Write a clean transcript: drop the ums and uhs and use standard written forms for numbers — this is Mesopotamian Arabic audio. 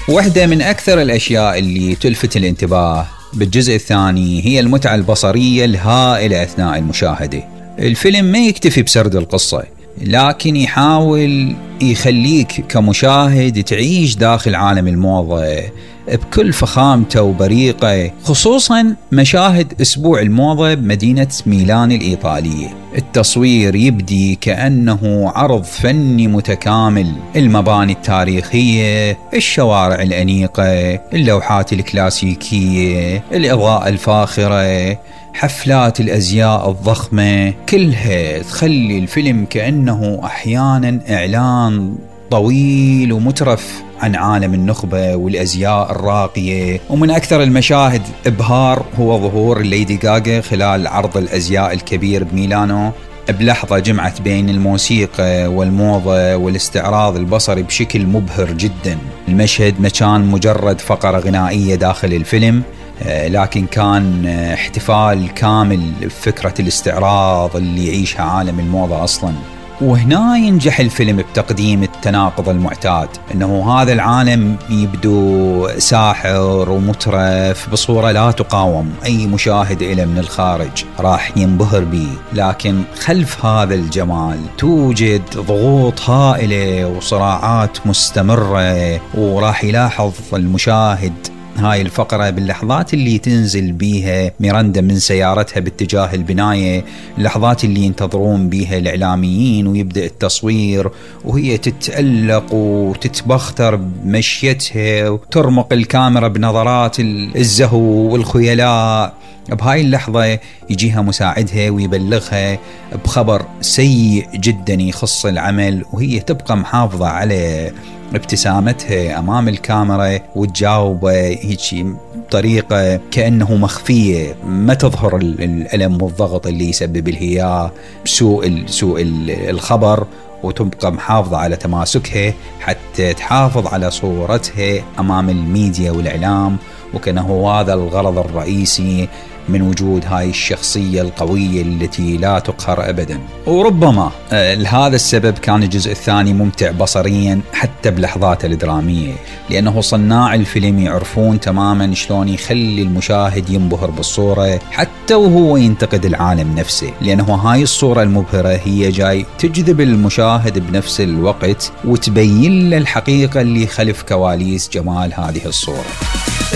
واحدة من أكثر الأشياء اللي تلفت الانتباه بالجزء الثاني هي المتعة البصرية الهائلة أثناء المشاهدة. الفيلم ما يكتفي بسرد القصة، لكن يحاول يخليك كمشاهد تعيش داخل عالم الموضة بكل فخامته وبريقه، خصوصا مشاهد أسبوع الموضة بمدينة ميلان الإيطالية. التصوير يبدي كأنه عرض فني متكامل، المباني التاريخية، الشوارع الأنيقة، اللوحات الكلاسيكية، الإضاءة الفاخرة، حفلات الأزياء الضخمة، كلها تخلي الفيلم كأنه أحيانا إعلان طويل ومترف عن عالم النخبة والأزياء الراقية. ومن أكثر المشاهد إبهار هو ظهور ليدي غاغا خلال عرض الأزياء الكبير بميلانو، بلحظة جمعت بين الموسيقى والموضة والاستعراض البصري بشكل مبهر جدا. المشهد ما كان مجرد فقرة غنائية داخل الفيلم، لكن كان احتفال كامل بفكرة الاستعراض اللي يعيشها عالم الموضة أصلا. وهنا ينجح الفيلم بتقديم التناقض المعتاد، أنه هذا العالم يبدو ساحر ومترف بصورة لا تقاوم، أي مشاهد إليه من الخارج راح ينبهر به، لكن خلف هذا الجمال توجد ضغوط هائلة وصراعات مستمرة. وراح يلاحظ المشاهد هاي الفقرة باللحظات اللي تنزل بيها ميراندا من سيارتها باتجاه البناية، اللحظات اللي ينتظرون بيها الإعلاميين ويبدأ التصوير وهي تتألق وتتبختر بمشيتها وترمق الكاميرا بنظرات الزهو والخيلاء. بهاي اللحظة يجيها مساعدها ويبلغها بخبر سيء جدا يخص العمل، وهي تبقى محافظة على ابتسامتها أمام الكاميرا وتجاوبه هيك بطريقة كأنه مخفية، ما تظهر الألم والضغط اللي يسبب لها سوء الخبر، وتبقى محافظة على تماسكها حتى تحافظ على صورتها أمام الميديا والإعلام، وكأنه هذا الغرض الرئيسي من وجود هاي الشخصية القوية التي لا تقهر أبدا. وربما لهذا السبب كان الجزء الثاني ممتع بصريا حتى بلحظاته الدرامية، لأنه صناع الفيلم يعرفون تماما شلون يخلي المشاهد ينبهر بالصورة حتى وهو ينتقد العالم نفسه، لأنه هاي الصورة المبهرة هي جاي تجذب المشاهد بنفس الوقت وتبين له الحقيقة اللي خلف كواليس جمال هذه الصورة.